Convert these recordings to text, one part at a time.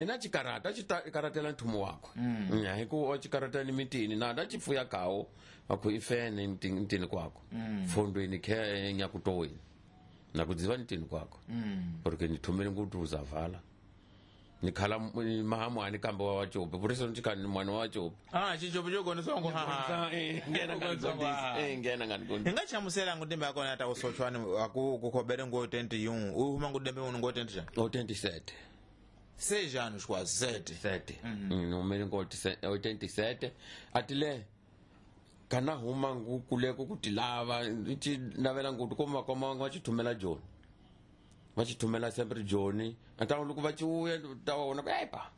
Na chikarata chikaratela nthumo wakwe. Hi ku chikarata ni mitini na da chipfuya kawo aku ifene mtini kwako. Fondweni khe nyakutoweni. Na kudziva mtini kwako. Porque nithumele ngutu uzavala. Nikhala mahamu ani kambe wa wachope. Por isso ntikani mwana wa wachope. Ah, chichope chogona songo ha. Ngena ngani ngena ngani. Hinga chamusela ngudembe akona ta usochwani aku kukhobere ngo 20 yung. Uhuma ngudembe uno ngo 20 ja. 87. 6 anos quase, 7. 7. Numero ngo 87. Atile kana huma ngukuleko kutilava ichi navela ngutu koma koma vachithumela Joni. Vachithumela sempre Joni. Ata loko vachiuya taona ku epa.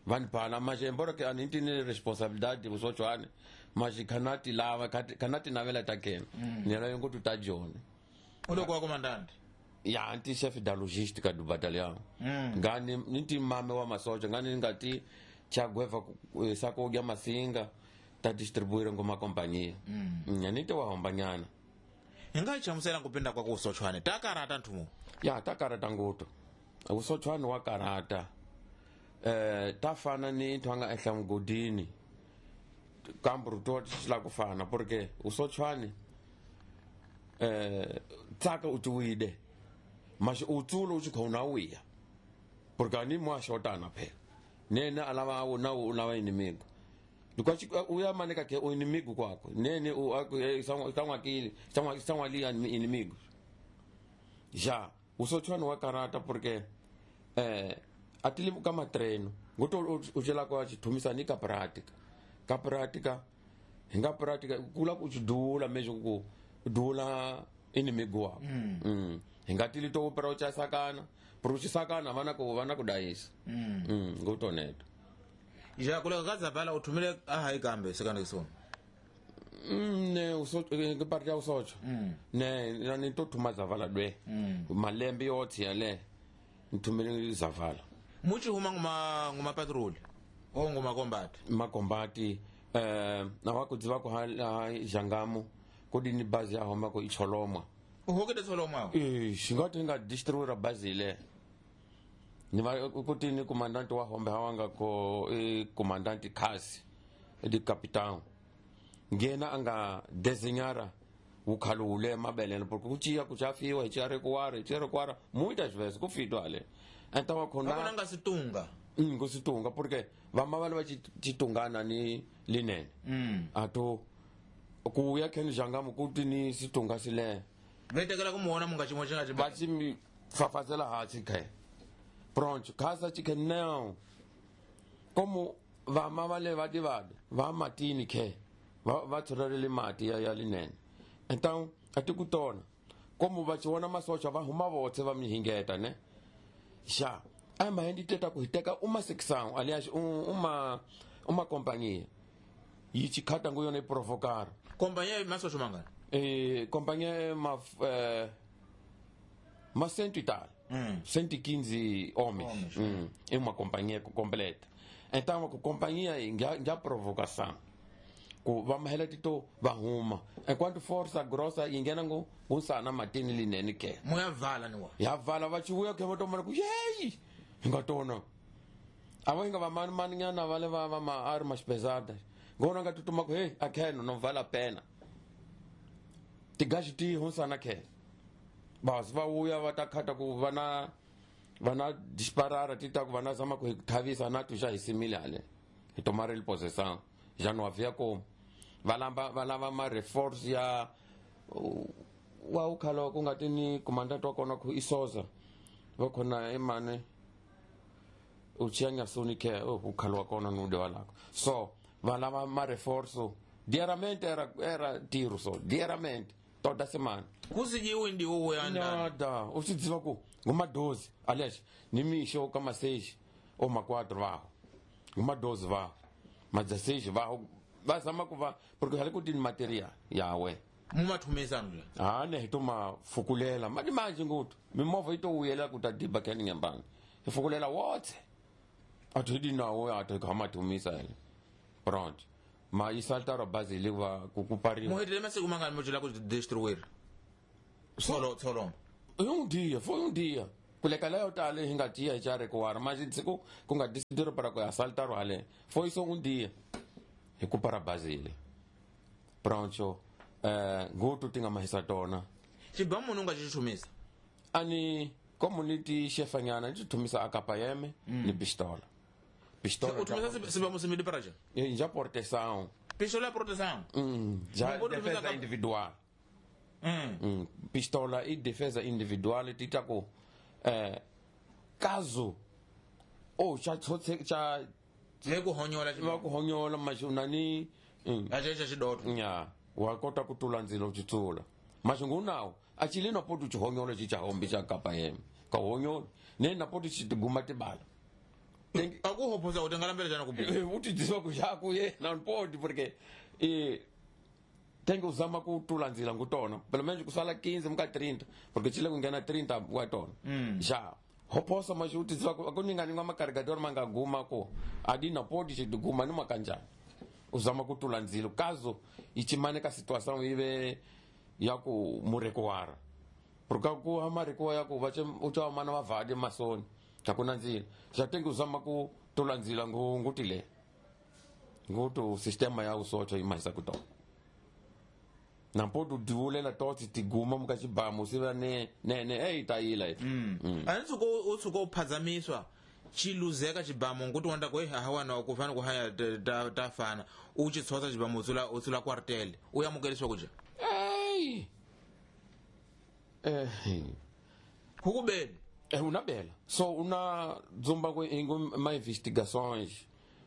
Vanhu bhala manje embora ke aniti ni responsabilidade usochwane. Manje kana tilava kana tinavela ta kena. Nela ngutu ta Joni. Uloko wa comandante. Ya anti chef da logística do batalhão. Ngani niti mame wa masoja ngani ngati chagweva sako ya masinga ta distribuir ngoma companhia. Niti wa hombanyana. Hinga chamusela kupinda kwa kusochwane takarata nthumu. Ya takarata nguto. Usochwane wa karata. Tafana ni ntwanga ehla mgodini. Kambru tot la kufana porque usochwane tsaka utuide. Mas utsulo uchikhona uya. Porque ani mwashotana phela. Nene alava na ulava inimigo. Lukwachi uya maneka ke inimigo kwakho. Nene u sangwakile, sangwali inimigo. Ja, usochwana wa karata porque atilimu kama treino. Ngoto uchela kwa chithumisa ni ka prática. Ka prática, hinga prática kula kuchidula mesmo ku dula inimigo wako. Hingatili to opera uchasakana, prochisakana vana ko vana kudayisa. Ngotoneto. Ja kule kazavala uthumile ahayi kambe sekande sona. Ne usocho ngiparti ya usocho. Ne nani to thuma zavala dwe. Malembe yothi yale ngithumele zavala. Muchi huma nguma patrol o nguma combat. Ma combat na wakudziva ko ha jangamu kudini bazi ya homa ko icholomwa. Uhokede tsolomwa. Xingati nga distribuira bazi le. Ni va kuti ni comandante wa hombe hawanga ko comandante Kasi di capitão. Ngena anga desenhara ukhalule mabelelo porque kuchiya kuchafiwa ichiare kuara muitas vezes kufitwa ale. Então akona nga situnga. Ngositunga porque vamavale va chitungana ni linene. Ato kuya keni jangamu kuti ni situnga sile. Vetekela kumuona munga chimwe chinga chiba. Bachi fafazela hatsi khe. Pronto, casa chike não. Como vamavale va divada, va matini khe. Va tshorele mati ya linene. Então atikutona. Como va chiona masocha va huma votse va mihingeta ne. Já a mãe teta ku hiteka uma secção, aliás, uma companhia. E chikhata nguyona provocar. Companhia masocha mangana. Companhia ma cento e tal. 115 homens. É uma companhia completa. Então a companhia já provocação. Ku vamahela tito vahuma. Enquanto força grossa ingena ngo usana matini linene ke. Moya vala niwa. Ya vala vachiuya ke votomana ku yei. Ngatona. Avo inga vamani maninyana vale va ma armas pesadas. Ngona ngatutuma ku hey akheno não vale a pena. Tigashi ti hunsana ke. Bas va uya va ta khata ku vana disparara tita ku vana zama ku thavisa na tu já isimile ale. E tomar ele possessão. Já não havia como. Valava ma reforço ya wa ukhala kungatini comandante wa kona ku isoza. Va khona emane uchianya suni ke ukhala wa kona nude walako. So valava ma reforço diariamente era tiro so diariamente toda semana. Kusijiwe ndiwo uyanda. Nada, usidziva ku nguma 12, aliás, nimisho kama 6 ou ma 4 vaho. Nguma 12 vaho. Ma 16 vaho bazama kuva porque hali kuti material yawe. Mumathumisa ndla. Ah ne tuma fukulela madi manje ngutu. Mimovha ito uyela kutadiba keni ngembanga. Ifukulela wotse. Athi nawo athi kamathumisa yena. Pronto. Ma isaltara base liva kukupariwa. Muhetele masiku mangani mojela ku destruir. Solo. Um dia, foi um dia. Kuleka leyo tala hi nga tiya hi xa recuar, mas siku ku nga decidir para ku assaltar hale. Foi só um dia. Hi ku para Basile. Pronto, ngutu tinga mahisa tona. Xibamu munhu nga xi chumisa. Ani community chefanyana xi thumisa akapayeme ni pistola. Pistola. U thumisa sibamu simili para já. Já proteção. Pistola proteção. Já defesa individual. Pistola e defesa individual tita ku caso ou cha cha le ku honyola va ku honyola mashunani ajeje xidoto nya wa kota ku tula ndzilo xitsula maxungu nawo a chile na poto xihonyola xi cha hombi xa kapa yena ka honyola ne na poto xi tiguma tibala a ku hoposa u tingalambela jana ku u ti dzisa ku xa ku yena poti porque tem que usar uma cultura nzila ngutona pelo menos kusala 15 muka 30 porque chile kungena 30 watona já hoposa mas uti dzisa ku ningani ngwa macarregador manga guma ko adina podi xi guma numa kanjani usama kutula nzilo caso ichimane ka situação ive ya ku murekoara porque ku amareko ya ku vache ucha mana va vade masoni takuna nzila já tem que usama kutula nzila ngutile ngutu sistema ya usocho imaisa kuto na podu divulela toti tiguma mukachibamu siva ne ne ne ei taila ani suko usuko phazamiswa chiluzeka chibamu nguti wanda ko hawana ku fana ku haya ta fana u chi tsotsa chibamu utsula utsula quartel u yamukeliswa kuja ei hukubeni unabela so una dzumba ko ingo ma investigações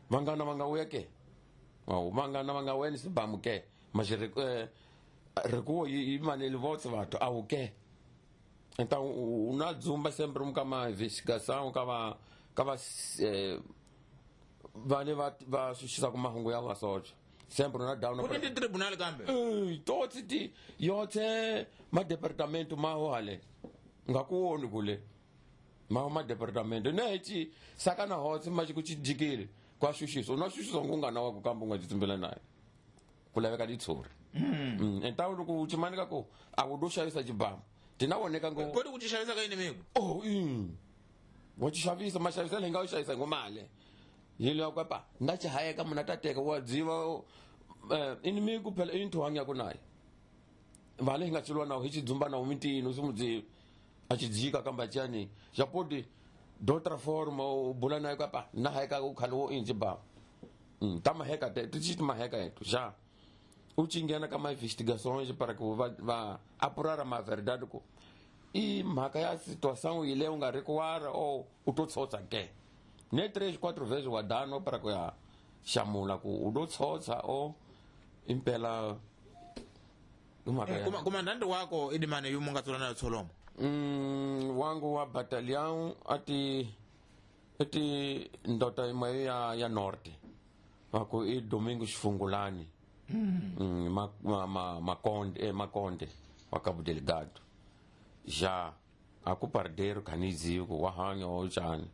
vangana vanga uya ke wa vangana vanga weni sibamu ke mas recuo e manele volta vato ao que então una dzumba sempre um kama investigação kama kava vale va xuxisa ku mahungu ya vasocha sempre na down ku ni tribunal kambe totsi ti yotse ma departamento maho hale nga ku woni kule maho ma departamento ne chi sakana hotse ma ku chijikile kwa xuxisa una xuxisa ngungana wa ku kamba nga tsimbela naye ku laveka ditsori então loko u chimanika ku a wu do xavisa xibamu tinawoneka ngo kodi ku xavisa ka inimigo oh wa xavisa ma xavisa leyi nga u xavisa ngomale yilo ya kwapa nda chihayeka muna tateka wa dziva inimigo phela into hanya ku naye vale hi nga chilwa na hi chidzumba na umitini usimudzivi a chidzika kamba chani japodi d'autra forma u bula naye kwapa na hayeka ku khale wo inji ba ta maheka te ti maheka etu já u chingena ka ma investigações para que va apurar a verdade ku i mhaka ya situação ile u nga recuar ou u to tsotsa ke ne 3 4 vezes wa dano para ku ya xamula ku u do tsotsa o impela komandante wako idimane yumu nga tsula na tsolomo wangu wa batalhão ati ndota imwe ya norte wako i Domingos Fungulani Makonde Makonde wa Cabo Delgado já aku pardeiro kanizio wa hanya ojani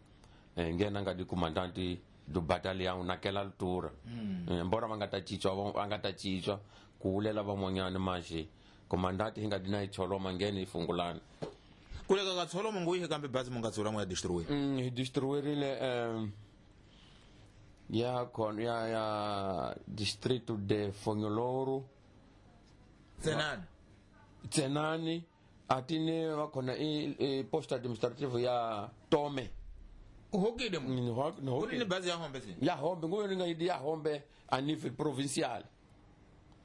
ngena nga di comandante do batalhão naquela altura embora vangatachichwa kuulela van'wanyana maxe comandante hi nga di na icholoma ngene hi Fungulani kuleka ka tsholoma nguyihe kambe bazi mu nga tsula mu ya destruir hi destruirile ya con ya distrito de Fonyoloro Tsenani atine va khona i posto administrativo ya Tome uhokile mu ni bazi ya hombe si ya hombe nguyo nga idi ya hombe a nível provincial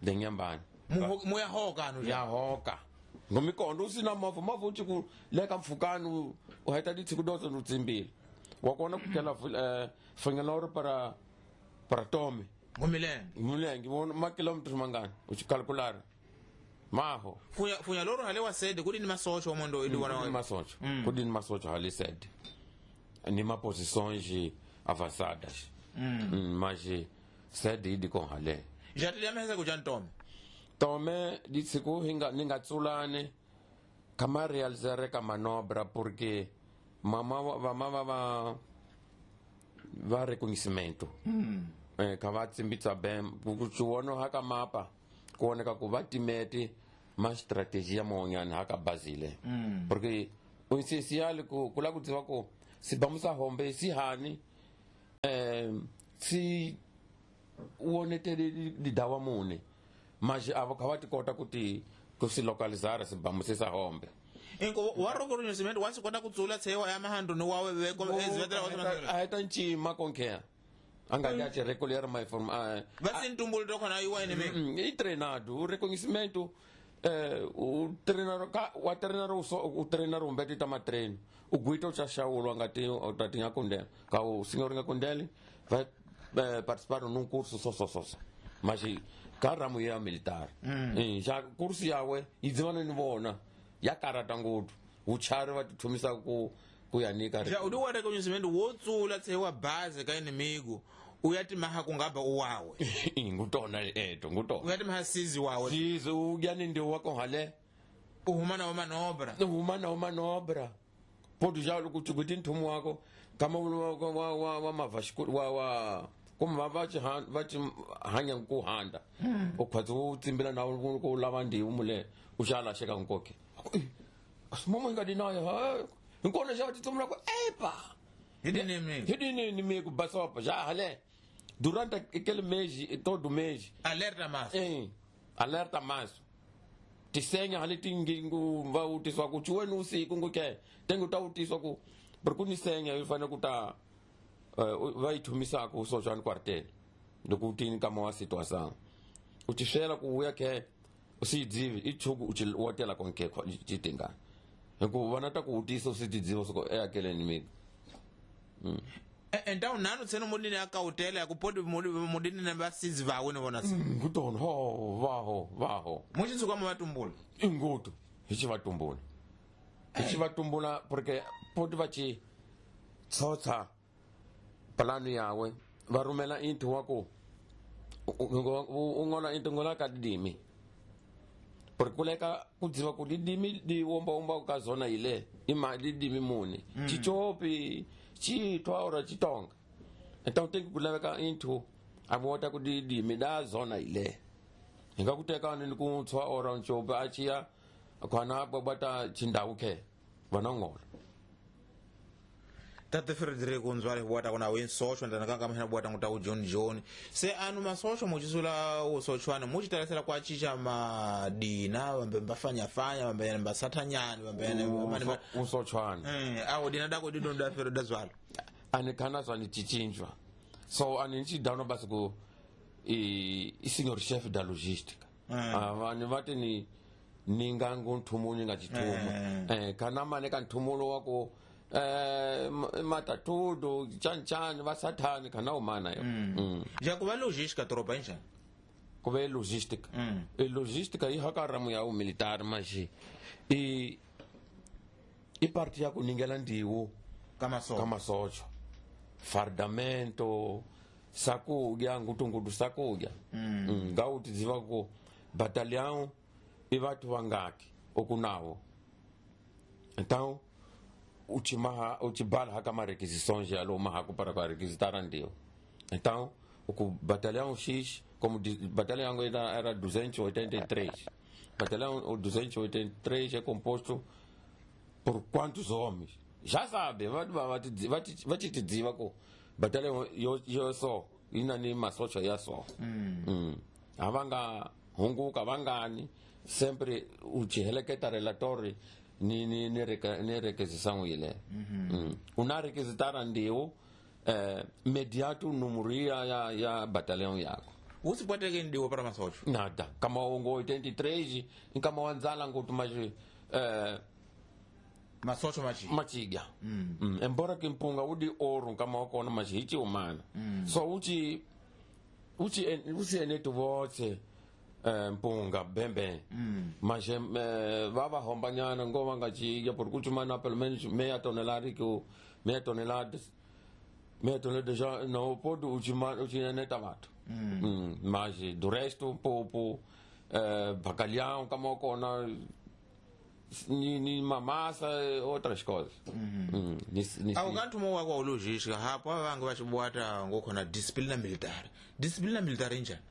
de Nyambani mu ya hoka no ya hoka ngomikondo usina mavu mavu uthi ku leka mfukani u heta ditsiku dotso no tsimbile wa kona ku kela Fonyoloro para Tome ngomilenge ngibona ma kilometers mangani uchikalkulara maho Fonyoloro hale wa sede kudi ni masocho omondo idi wana masocho kudi ni masocho hale sede ni ma posições avançadas mas sede idi com hale já te lembra ku Tome Tome ditsiku hinga ninga tsulane kama realizare ka manobra porque mama va va reconhecimento ka va tsimbitsa bem ku tsuono haka mapa kuoneka ku va timeti ma strategia mon'wanyana haka Basile porque O essencial ku la ku tiva ku sibamu sa hombe si hani si wonetele lidawa mune mas avo kha va ti kota ku ti ku si localizar sibamu se sa hombe. Inko wa reconhecimento wa swi kota ku tsula tshewa ya mahandu ni wawe veko ezivetela wa a heta ncima konke anga ya te recolher mais forma va se ntumbulu to khona iwa ene me e treinado o reconhecimento o treinador wa treinador o treinador um bete tama treino o guito cha shaolo anga te o tatinha kondela ka o senhor nga kondele vai participar num curso só mas ka ramo ya militar já curso yawe idzivana ni vona ya karata ngopfu vuchari va tithumisa ku ya nyika ja udi wa reconhecimento wo tsula tsewa base ka inimigo uya timaha kungaba uwawe ngutona eto ngutona uya timaha sizi wawe sizi uyani ndio wako hale uhumana wa manobra uhumana wa manobra podu já kuti kuti nthumu wako kama wa mavashku wa kuma va chi hanya ku handa ukhwazi u tsimbila na ku lava ndiwu mule u xala xeka nkoke asimomo nga dinayo nkona já titsumula ku epa hidini me ku basopa já hale durante aquele mês todo mês alerta mais alerta mais tisenya hale tingingu va utiswa ku chuweni usiku nguke tengu ta utiswa ku porque nisenya yi fanele ku ta va yi thumisaka u socha quartel loko u tini kama wa situação u tixela ku uya ke u si dzivi i chuku u chi wotela konke chitinga hikuva vana ta ku utisa u si tidziva soko e akeleni mina Então nanu tseno mudini akautela kupodi mudini na basizi vawe ne vona ngutona ho vaho muchitsuka mavatumbula ingutu hi xi vatumbula porque poti va ci tsotsa plano yawe va rhumela into wa ku u ngola into ngola ka dimi porque kuleka ku dziva ku dimi di womba womba ka zona ile ima dimi muni chichopi chitwa ora chitonga então tem ku laveka into a vota ku dimi da zona ile hinga ku teka ni ku tswa ora nchopi a chiya khona bata chindhawu ke vana ngola Tate Frederico nzwale bwata kuna wen socho ndana kanga mahina bwata nguta John John se anu masocho muchisula usochwana muchitalasela kwa chicha madina vambe mbafanya fanya vambe mbasatanyani vambe usochwana awo dina dako dido nda fero dazwalo ani kana zwa ni chichinjwa so ani nchidano basi ku i senior chef da logistica ani vati ni ningangu nthumu nga chithumu kana mane ka nthumulo wako matatudo chan vasathani kana umana yo ja ku va logística tropa njani ku ve logística e logística yi haka ramu ya militar mas i parte ya ku ningela ndiwo kama socho fardamento sakudya ngutungudu sakudya ngauti ziva ku batalhão e vatu vangaki okunawo então uchibala haka marequisições alo mahaku para para requisitar ndio então o batalhão X como batalhão era 283 batalhão 283 é composto por quantos homens já sabe vai te dizer ko batalhão yo só ina ni masocha ya só avanga hunguka vangani sempre uchiheleketa relatório ni requisição ile una requisitar ndio mediato número ya batalhão yako usipwateke ndio para masocho nada kama ungo 83 kama wanzala ngutu mas masocho machiga embora que mpunga udi ouro kama wakona mas hichi umana so uchi enetu voce mpunga bembe mas vava hombanyana ngova nga chiga por kuchumana pelo menos meia tonelada que meia tonelada já não pode uchineta vato mas do resto pouco bacalhau kama kona ni mamassa outras coisas awukantu mo wako logística hapo avange vachibwata ngokhona disciplina militar injani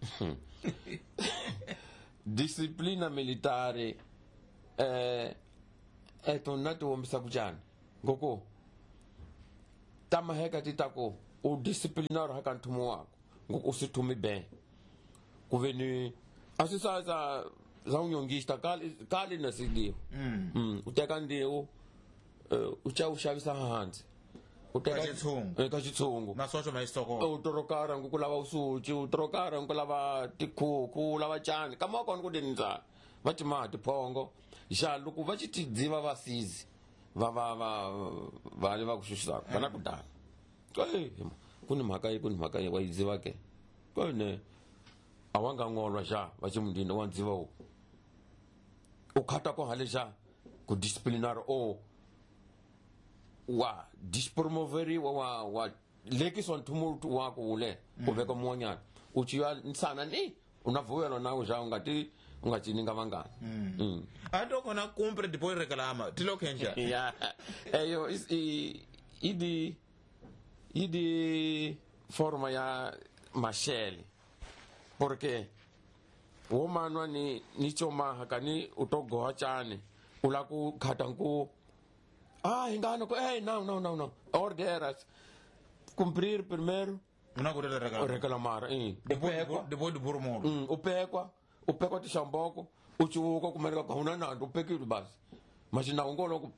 disciplina militar Tona ti wombisa ku njhani ngoko ta maheka ti ta ku u disciplinar ha ka nthumo wako ngoko u si thumi ben ku ve ni a swi sa sa sa unyongista kali kali na sidiwa u teka ndiwu u cha u xavisa hansi u teka Ka xitshungu. Ka xitshungu masocho ma xitokolo u torokara ngu ku lava usuci u torokara ngu ku lava tikhuku u lava cani kama wa kona ku dini ndlala va ti maha tiphongo xa loko va xi tidziva va sizi va va va va le va ku xuxisaka va na ku dana ku ni mhaka yi ku ni mhaka yi wa yi dziva ke ne a wa nga ngolwa xa va xi mundini wa ndziva wu u khata ko hale xa ku disciplinary o wa dispromoveriwa wa wa lekisiwa nthumo wa ku wule ku veka mun'wanyana u ciwa nsana ni u na vuyelo na xa u nga ti u nga cini nga vangani. A to kona cumpre depois reclama ti lo kenja Ya eyo idi idi forma ya mashele porque wo manwa ni ni chomaha kani u to goha chani u la ku khata nku ah ingano ko no no no no orderas cumprir primeiro una ku reclamar reclamar depois de burmo u pekwa tixamboko u civuka kumeleka ku huna nandzu u pekile basi mas na ngolo ku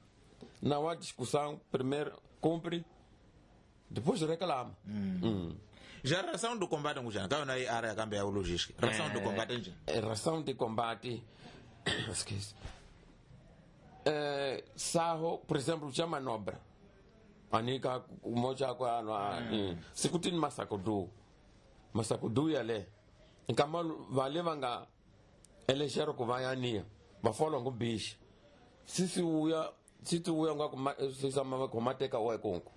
na wa discussão primeiro cumpre depois reclama. Já ração do combate ngujana ka yona i área kambe ya logística ração do combate nje Ração de combate esquece saho por exemplo cha manobra anika moja kwa ano sikutini masakudu yale nkama vale vanga elexero ku va ya va folwa ngu bishi sisi uya sisi uya nga kuma sisa ma komateka wa konko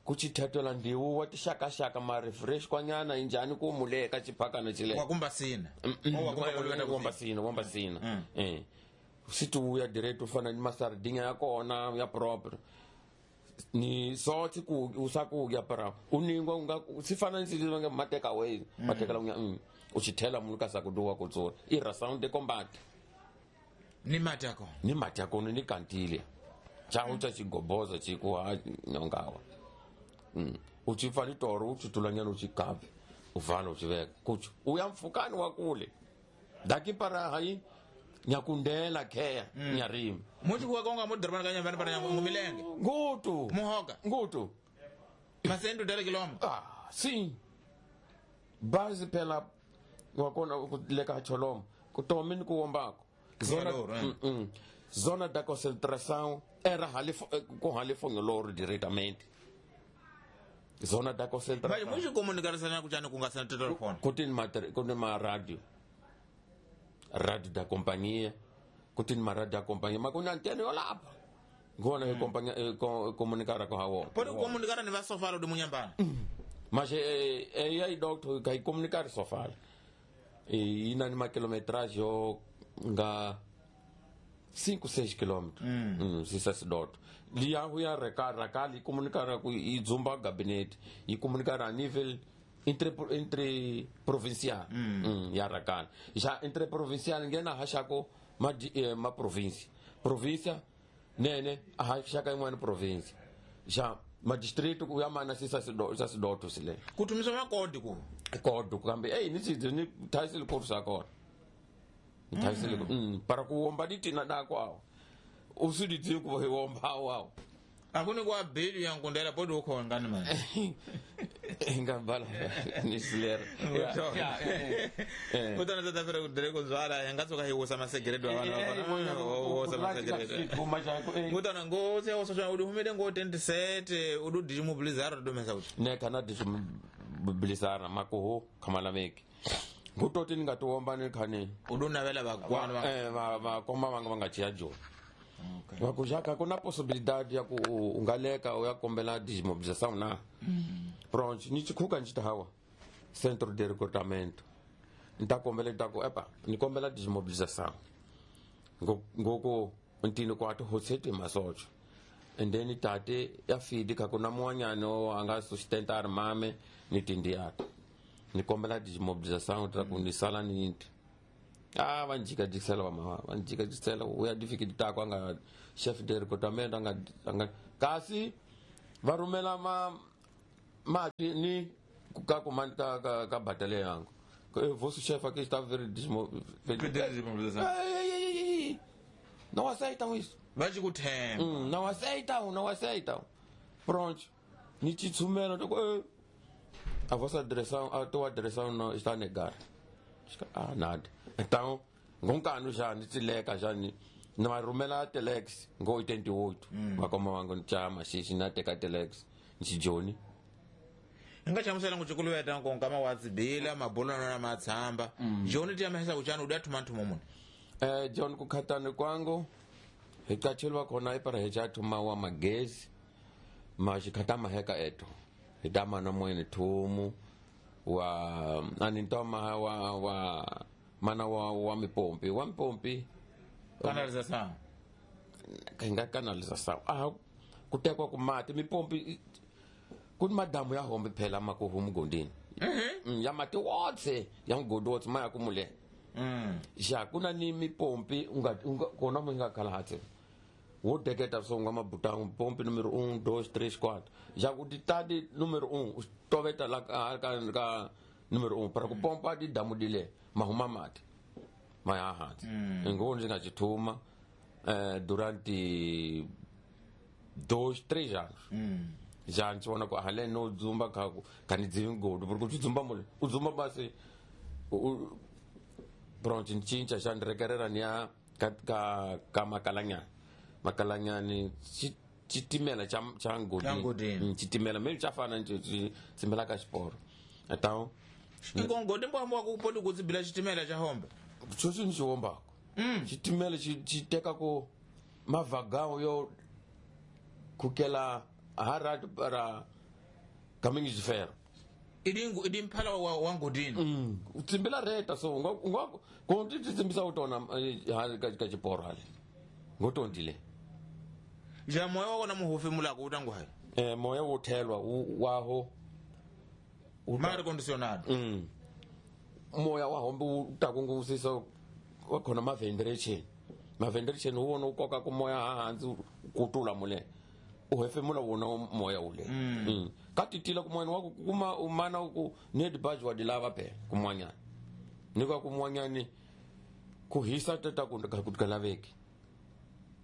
ku chithatela ndiwu wa tixakaxaka ma refresh kwanyana injani ku muleka chiphakana chile wa kumba sina wa kumba sina siti uya direct u fana ni masardinha ya kona ya proper ni soti ku usaku ya para uningwa unga sifana ni sisi nga mateka away mateka la u chithela munhu ka sakuduwa ku tsora i ração de combate ni mati yako ni mati yako ni kantile cha ucha chigoboza chiku ha nyongawa u chifani toro u chitulanyana u chikavi u vala u chiveka kuchu uya mfukani wa kule daki para hayi nyakundela kheya nyarimi muchi kuwa konga mudorobani ka nyambani para ngumilenge ngutu muhoka ngutu masendu dale kiloma sim base pela wakona leka choloma kutomini kuwombako zona zona da concentração era com halifongeloro diretamente zona da concentração mas muchi comunicação kuchani kungasana telefone kutini ma radio radio da companhia kutini ma radio da companhia mas kuna antena yo lapa ngona e companhia comunicar com hawo pode comunicar ni vasofalo de munyambana mas é aí doctor kai comunicar só fala e ina ni ma kilometragem yo nga 5 6 quilômetros sisa sidot liya huya rakali comunicar com e zumba gabinete e comunicar a nível entre provincial ya rakali já entre provincial ninguém na hachako ma ma província província nene a hachaka imwe província já ma distrito ku ya mana sisa sidoto sile kutumisa makodi ku kodi kambe ei ni ni thaisile kursa kona thaisile para ku womba ditina dako awo usudi ku womba awo akuni kwa bill ya nkundela podi uko ngani man ngabala ni silera kutana tata fere kudere kuzwala yangatsoka hiwosa masegeredo avana wosa masegeredo kutana ngose ososha udi humede ngo 27 udu dijimobilizara domesa kuti ne kana dijimobilizara makuho kamala meki ngutoti ningatiwomba ni khani udunavela vakwana va koma vanga va nga chiya joni vakuxaka ku na possibilidade ya ku u nga leka u ya kombela desmobilização na pronto ni chikhuka ni xitahawa centro de recrutamento ni ta kombela ni ta ku epa ni kombela desmobilização ngoko ntini ku ati hoseti masocho and then tate ya fidi ka ku na muwanyana a nga sustenta ri mame ni tindiyata ni kombela desmobilização ta ku ni sala ni nti A va njikajikisela vamava, va njikajikisela u ya difikiti tako a nga chef de recruitment a nga kasi va rhumela ma mati ni ka command ka batalha yangu. Vosso chefe aqui está very Desmobilizado. Não aceitam isso. Va ci ku themba. Não aceitam, não aceitam. Pronto. Ni te tshumela to a vossa direção, a tua direção não está a negar. Ah, nada. Então, ngonkano já ni tsileka já ni na rhumela telex ngo 88 vakoma vangu ni chama xixi na teka telex ni xijoni. Hi nga hlamusela ku cikuluveta nko nkama wa tsibila mabulano na matshamba joni ti yamehesa ku chani u dya thuma nthumo muni. John kukhatani kwangu hi qacheliwa khona ipara hi cha thuma wa magezi ma xikhata maheka eto hi ta mana moyeni thumu wa ani ntoma wa mana wa mipompi wa mipompi. Canalização. Hi nga canalização a ku tekiwa ku mati mipompi ku ni madamu ya hombe phela ma ku huma mugondini. Ya mati wotse ya mugodi wotse ma ya ku mule. Ja ku na ni mipompi u nga kona mo nga khala hatse wo deketa so nga mabutang pompi número 1 2 3 4 ja ku ti tadi número 1 u toveta la ka número 1 para ku pompa di damu dile ma huma mati ma ya hansi ngo ndzi nga xithuma durante 2 3 anos ja ndzi vona ku hale no dzumba kha ku kha ni dzivi mugodi porque u dzumba mule u dzumba basi pronto ni cinca xa ni rekerera ni ya ka makalanyani makalanyani xitimela xa Xa Ngodini. Xitimela maybe xa fana ni xi tsimbela ka xiporo então Nko ngodi mbwambwa ku poli ku tsibila xitimela xa hombe. Sweswi ni xi wombaka xitimela xi teka ku mavhagawo yo kukela harati para caminho de ferro. Idi mphala wa Ngodini. U tsimbela reta so u nga ku ti tsimbisa u tona hale ka xiporo hale ngotondile. Ja moya wa kona muhofemulako u ta ngwayi. Moya wo thelwa waho Ma ri condicionado. Moya wa hombe wu ta ku ngusisa wa khona ma ventilation ma ventilation wu wona wu koka ku moya hansi u kutula mule u hefemula wona moya ule. Ka titila ku moyani wa ku kuma u mana ku need budge wa di lava phela kun'wanyana ni ka kun'wanyani ku hisa tata ku ka ku laveki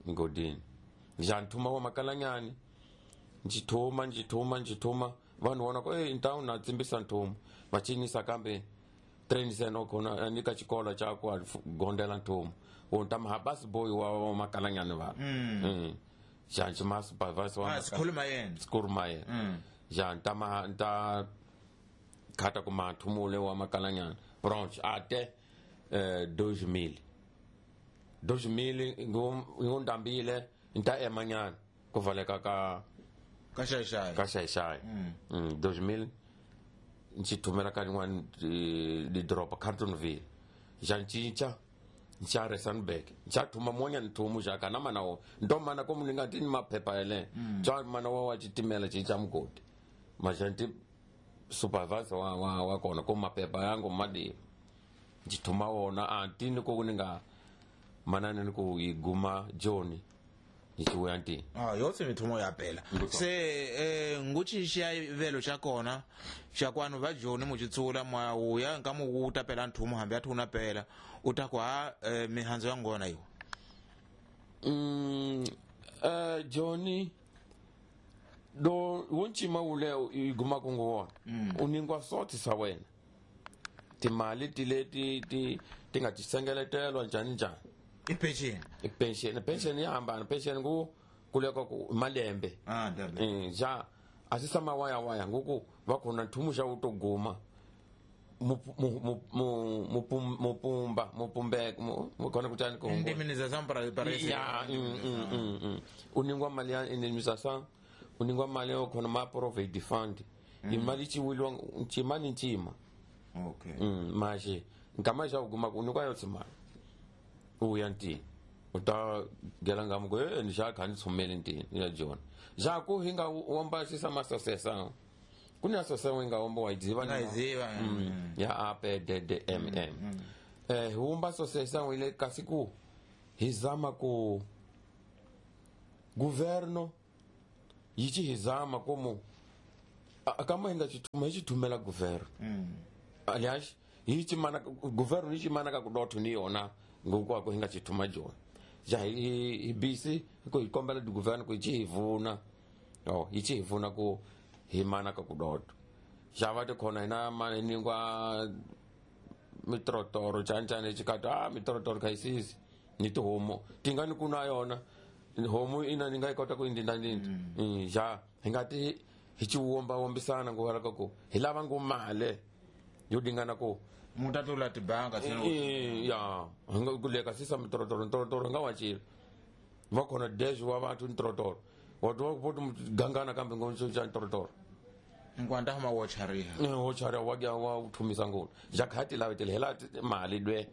ngodini ja nthuma wa makalanyani ndzi thuma ndzi thuma ndzi thuma vanhu vona ku então na tsimbisa nthumu va cinisa kambe trainisen okhona ni ka xikolo xa ku gondela nthumu wo ta ma basi boy wa makalanyani va ja nxi ma supervisor wa Ah, sikhuluma yena. sikhuluma yena ja nta ma nta khata ku mathumule wa makalanyani branch ate 2000 2000 ngo ndambile nta emanyana ku valeka ka Ka xaxayi. Ka xaxayi 2000 ndzi thumela ka rin'wana lidoroba Carltonville ja cinca nxa Rustenburg nxa thuma mun'wanyana nthumu xa kana mana wo nto mana komu ni nga ti ni maphepha yale xa mana wa xitimela cinca mugodi maxa nti supervisor wa kona ko maphepha yangu madiwa ndzi thuma wona a ntini ku ni nga manani ni ku yi guma joni ni xivuya ntini. Ah, yotse mithumo ya pela. Se nguchi xa velo xa kona xa kwanu va joni muchitsula mwa uya nka mu wuta pela nthumo hambi a thuna pela u ta ku ha mihandzu ya ngona iwo. Johnny do woncima wule i guma ku ngo wona u ningwa soti sa wena timali ti leti ti nga ti sengeletelwa njhani njhani. I pension. I pension, pension ya hambana pension ku kuleka ku malembe. Ah, ndabe. Ja a swi sama waya waya ngoku va khona nthumu xa wu to guma mupumba mupumbeka khona kutani ku Indemnização para esse. Ya, u ningwa mali ya indemnização u ningwa mali yo khona ma provident fund imali ciwiliwa ncima ni ncima. Okay. Maxe nkama xa u kuma ku u nyikiwa yo tsimali u ya ntini u ta gela ngamu ku ni xa kha ni tshumele ntini ya jona ja ku hi nga womba xisa masosesa ku ni asosesa wi nga womba wa yi dziva Nga yi dziva. Ya A P D D M M. Hi wumba association ile kasi ku hi zama ku governo yi ci hi zama como kama hi nga xithuma hi xithumela governo. Aliás, hi ximana governo yi ximana ka ku dotho ni yona ngokwako hi nga xithuma jona. Ja hi busy ku hi kombela di governo ku yi ci hi vuna. Oh, yi ci hi vuna ku hi mana ka ku dotho. Ja va ti khona hina mani ningwa mitrotoro chanchane xikata mitrotoro kha isisi ni tihomu ti nga ni ku na yona homu ina ni nga yi kota ku indindandinda. Ja hi nga ti hi ci womba-wombisana ngo ka ku hi lava ngo mali yo dingana ku mutatula tibanga ya hi nga ku leka sisa mitrotoro ntrotoro hi nga wacile va khona dash wa vantu ntrotoro wa twa ku gangana kambe ngo xa ntrotoro nkwanta huma wo chariha wo chariha wa ya wa thumisa ngopfu ja kha ti lavetele hela mali lwe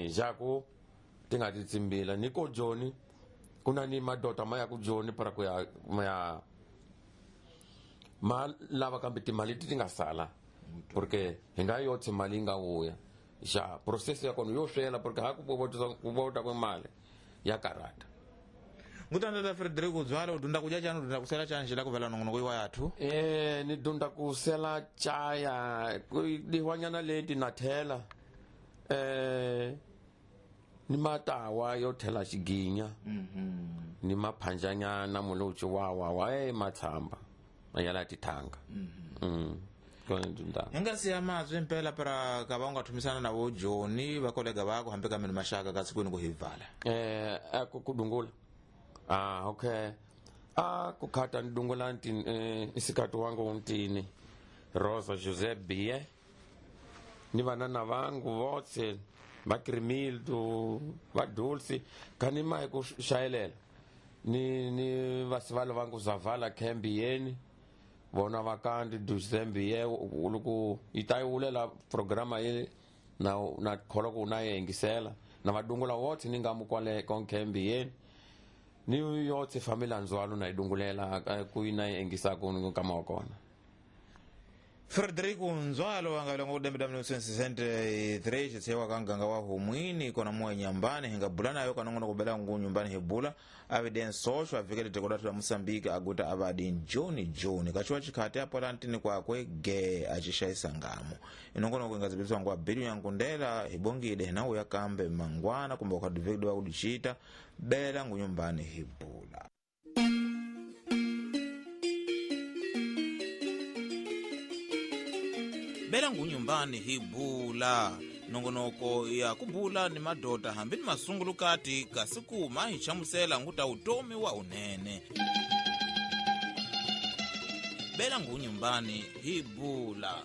ja ku ti nga ti tsimbila ni ko joni ku na ni madota ma ya ku joni para ku ya ma ma lava kambe timali ti nga sala porque hi nga yotse mali yi nga vuya ja process ya kona yo swela porque ha ku vota ku mali ya karata. Ngutandata Frederico Dzwalo, udunda kudya chani, udunda kusela chani xila ku vela nongonoko iwa yathu? Ni dunda kusela chaya dihwanyana leti na thela ni matawa yo thela xiginya ni maphanjanyana mulutshi wa wa wa matshamba yala tithanga. Hi nga siya mazwi impela para ka va u nga thumisana na vo Joni va kolega vako hambi ka mini maxaka kasi kwini ku hi vala. Ku dungula. Okay. Ku khata ni dungula ntini isikati wangu ntini Rosa Jose Bie ni vanana vangu votse va Krimildo va Dulce kani mai ku xayelela ni vasivalo vangu Zavala Kembiyeni vona vakandi Duzembiye loko yi ta yi vulela programa yi na kholwa ku na yi yingisela na vadungula votse ni nga mu kwale konkembiyeni ni yotse family ndzwalo na yi dungulela ku yi na yi yingisa ku nkama wa kona. Frederico Nzwalo anga longo dembe damne 1963 xitsewa ka nganga wa humwini kona moya nyambani hinga bula nayo kanongono kubela ngu nyumbani hibula avide nsosho avikele tekodatu la Mosambiki aguta avadi Joni Joni kachiwa chikhati apo lantini kwakwe ge achishaisa ngamo inongono kuingazibiswa ngwa bilu yankundela hibongide hinawu yakambe mangwana kumbe ukadivikidwa wakudichita bela ngu nyumbani hibula. Bela ngunyumbani hibula nongonoko ya kubula ni madota hambi ni masungulukati kasi kuma hi chamusela nguta utomi wa unene. Bela ngunyumbani hibula.